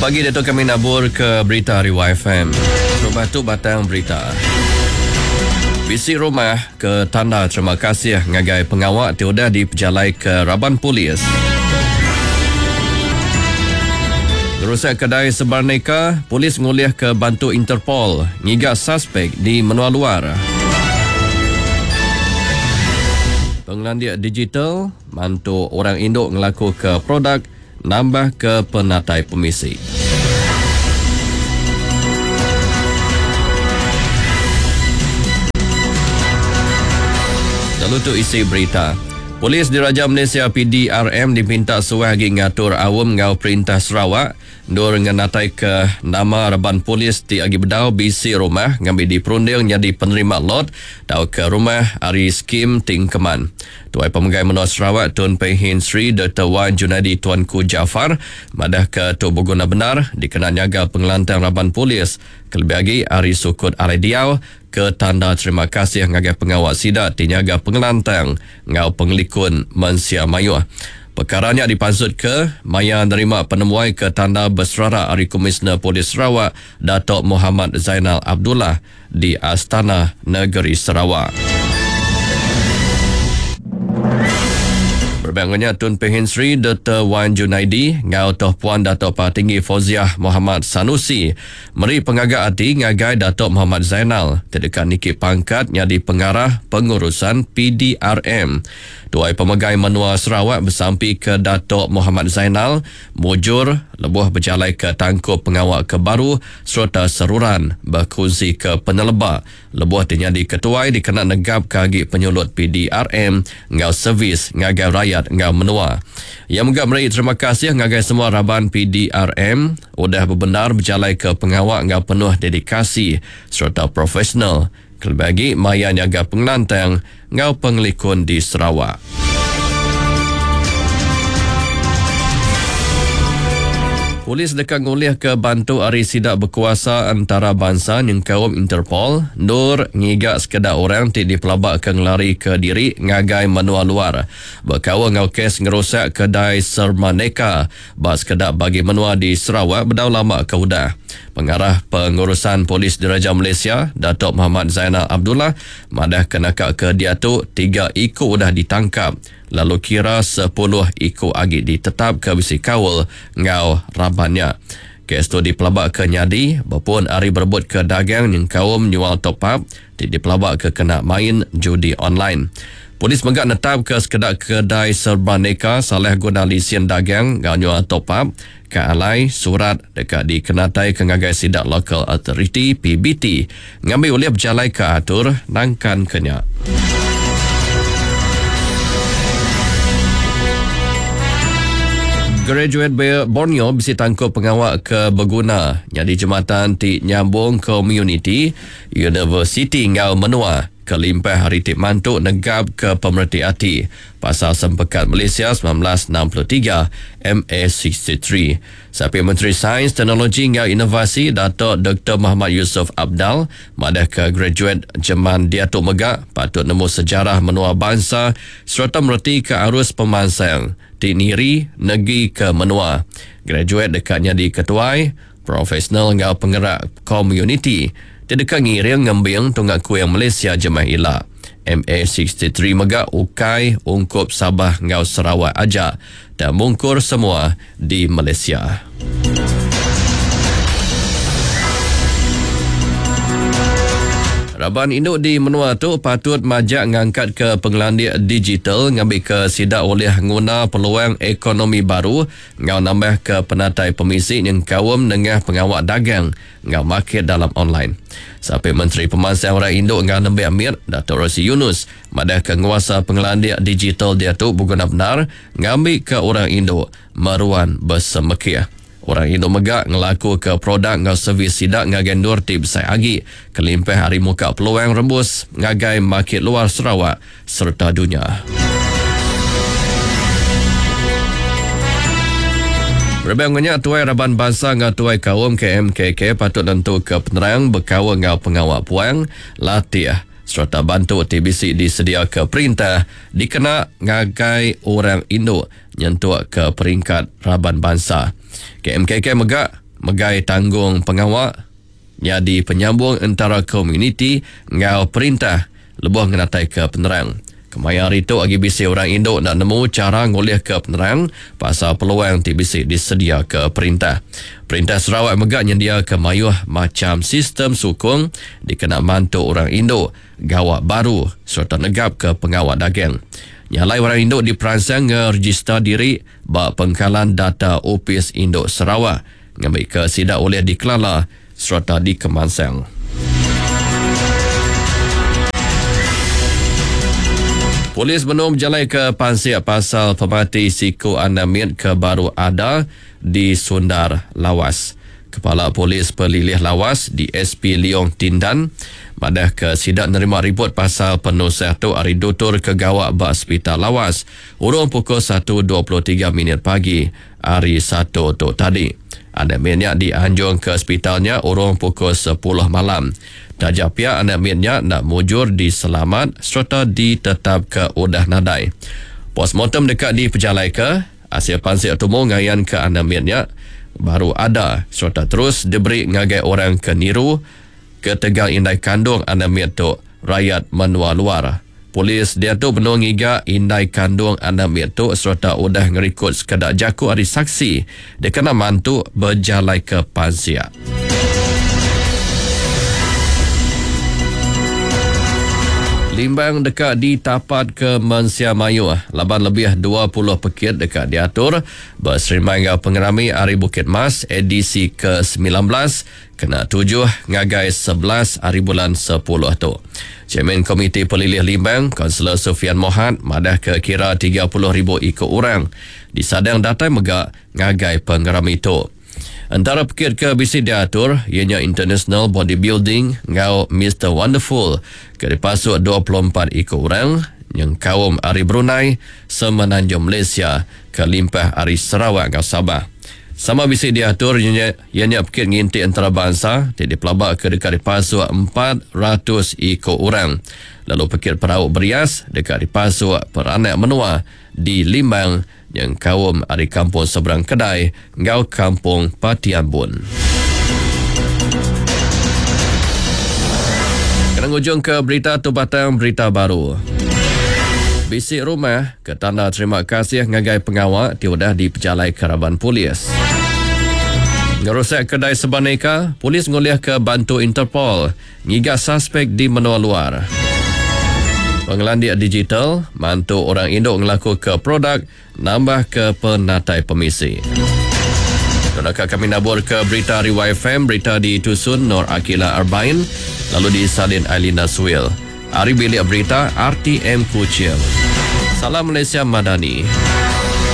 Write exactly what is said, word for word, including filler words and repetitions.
Pagi diatu kami nabur ke berita hari Y F M. Rumah tu batang berita. Bisi rumah ke tanda terima kasih ngagai pengawak ti udah dipejalai ke Raban Polis. Rusak kedai Sebarneka, polis ngulih ke bantu Interpol ngiga suspek di menua luar. Pengelandik digital mantu orang induk ngelaku ke produk nambah ke penatai pemisi. Lalu tu isi berita. Polis Diraja Malaysia P D R M dipinta suah agi ngatur awam ngau Perintah Sarawak ndur ngenatai ke nama reban polis ti agi bedau bisi rumah ngambil diperunding jadi penerima lot tau ke rumah ari skim Tingkeman. Tuai Pemegai Menua Sarawak Tun Pehin Sri Doktor Wan Junaidi Tuanku Jaafar madah ke tu berguna benar dikena nyaga pengelantang raban polis kelebih agi ari sukut alai diau ke tanda terima kasih ngagai pengawal sida ti nyaga pengelantang ngau pengelikun mensia mayuh. Perkaranya dipansut ke maya nerima penemuai ke tanda berserara ari Komisioner Polis Sarawak Datuk Muhammad Zainal Abdullah di Astana Negeri Sarawak. Berbangunnya Tun Pehin Sri Doktor Wan Junaidi ngau Toh Puan Datuk Patinggi Fauziah Muhammad Sanusi meri pengagak hati ngagai Datuk Muhammad Zainal terdekat niki pangkat nyadi pengarah pengurusan P D R M. Tuai Pemegai Menua Sarawak bersampi ke Datuk Muhammad Zainal mujur lebuh berjalai ke tangkup pengawak ke baru serta seruran berkongsi ke peneleba lebuh nyadi ketuai dikena negap ke agi penyulut P D R M ngau servis ngagai rakyat ngau menua. Ia juga meri terima kasih ngagai semua raban P D R M udah berbenar berjalai ke pengawak ngau penuh dedikasi serta profesional. Kelebih lagi maya nyaga pengelantang ngau pengelikun di Sarawak. Polis dekat ngulih ke bantu ari sidak berkuasa antarabangsa nyengkaum Interpol nur ngiga sekeda orang ti dipelabak ke ngelari ke diri ngagai menua luar. Berkaul ngau kes ngerusak kedai Sermaneka ba sekeda bagi menua di Sarawak bedau lama ke udah. Pengarah Pengurusan Polis Diraja Malaysia Datuk Muhammad Zainal Abdullah madah kenaka ke diatu tiga iku udah ditangkap lalu kira sepuluh iku agi ditetap ke bisi kaul ngau rabannya. Kes tu dipelabak ke nyadi berpun ari berebut ke dagang nyengkaum nyual top up ti dipelabak ke kena main judi online. Polis megak netap ke sekedak kedai Serbaneka salah guna lisen dagang ngau nyual top up ke alai surat dekat dikenatai ke ngagai sidak local authority P B T ngambil oleh berjalai ke atur nangkan kenya. Graduate Borneo bisi tangkup pengawak ke berguna jadi jematan ti nyambung community university ngau menua kelimpah hari ti mantu negap ke pemerhati hati pasal Sempekat Malaysia sembilan belas enam puluh tiga M A enam puluh tiga. Sapi Menteri Sains, Teknologi ngau Inovasi Datuk Doktor Muhammad Yusof Abdal madah ke graduate jeman diatu megak patut nemu sejarah menua bangsa serta mereti ke arus pemansang ti niri negi ke menua. Graduate dekatnya di ketuai, profesional ngau penggerak community ti dekat ngiring ngembing tunggak kuing Malaysia jemah ila. M A enam puluh tiga megak ukai ungkup Sabah ngau Sarawak aja dan mungkur semua di Malaysia. Raban induk di menua tu patut majak ngangkat ke pengelandik digital ngambil ke sidak oleh nguna peluang ekonomi baru ngau nambah ke penatai pemisi yang kaum nengah pengawak dagang ngau market dalam online. Sampai Menteri Pemansang Orang Induk ngau Nembek Amir Datuk Rosy Yunus madah ke nguasa pengelandik digital dia tu berguna benar ngambil ke orang induk meruan bersemekia. Orang induk megak ngelaku ke produk ngau servis sidak ngagai nur ti besai agi kelimpah hari muka peluang rembus ngagai market luar Sarawak serta dunia. Rebang tuai raban bangsa ngau tuai kaum K M K K patut nentu ke penerang berkaul ngau pengawak puang latih serta bantu T B C disedia ke perintah dikena ngagai orang induk nyentuk ke peringkat raban bangsa. K M K K megak megai tanggung pengawa nyadi penyambung entara komuniti enggau perintah lebuh ngenataika penerang. Kemaya hari tu agi bisi orang indu enda nemu chara ngulihka penerang pasal peluang ti bisi disediaka perintah. Perintah Sarawak mega nyendiaka mayuh macham sistem sukung dikena mantu orang indu gawa baru sereta negapka pengawa dagang. Nya alai orang indu diperansang ngerejista diri ba pengkalan data Opis Indu Sarawak ngambika sida ulih dikelala sereta dikemansang. Polis benung bejalaika pansik pasal pemati siku anak mit ke baru ada di Sundar, Lawas. Kepala Polis Pelilih Lawas, D S P Liong Tindan madahka sida nerima riput pasal penusah tu ari dutur ke gawa ba Sepital Lawas urung pukul satu dua puluh tiga minit pagi hari Satu tu tadi. Anak mit nya dianjung ke sepital nya urung pukul sepuluh malam. Taja pia anak mit nya enda mujur diselamat sereta ditetapka udah nadai. Postmortem deka dipejalaika. Asil pansik tumu ngayanka anak mit nya baru ada sereta terus diberi ngagai orang ke niru ketegal indai kandung anak mit tu rayat menua luar. Polis diatu benung ngiga indai kandung anak mit tu sereta udah ngerikod sekeda jaku ari saksi dikena mantu bejalaika pansik. Limbang deka ditapat ke mensia mayuh laban lebih dua puluh pekit deka diatur beserimbai enggau pengerami Hari Bukit Mas edisi ke sembilan belas kena tujuh ngagai sebelas hari bulan sepuluh tu. Chairman Komiti Pelilih Limbang, Kaunselor Sufian Mohat madah ke kira tiga puluh ribu ikut orang disadang datai mega ngagai pengerami tu. Antara pekit ke bisi diatur ianya International Bodybuilding enggau Mister Wonderful ke dipasuk dua puluh empat ikut orang nyengkaum ari Brunei, Semenanjung Malaysia, kelimpah ari Sarawak enggau Sabah. Sama bisi diatur ianya, ianya pekit nginti antarabangsa ti dipelaba ke deka dipasuk empat ratus ikut orang. Lalu pekit perahu berias deka dipasuk peranak menua di Limbang nyengkaum ari Kampung Seberang Kedai enggau Kampung Patiambun. Kena ngujung ke berita tu batang berita baru. Bisi rumah ke tanda terima kasih ngagai pengawa ti udah dipejalai raban polis. Ngerusak kedai sebaneka, polis ngulih ke bantu Interpol ngiga suspek di menua luar. Pengelandik digital mantu orang induk ngelaku ke produk nambah ke penatai pemisi. Terima kami nabur ke berita ari Y F M, berita ditusun Nur Akila Arbain, lalu disalin Ailina Suil. Ari bilik berita R T M Kuching. Salam Malaysia Madani.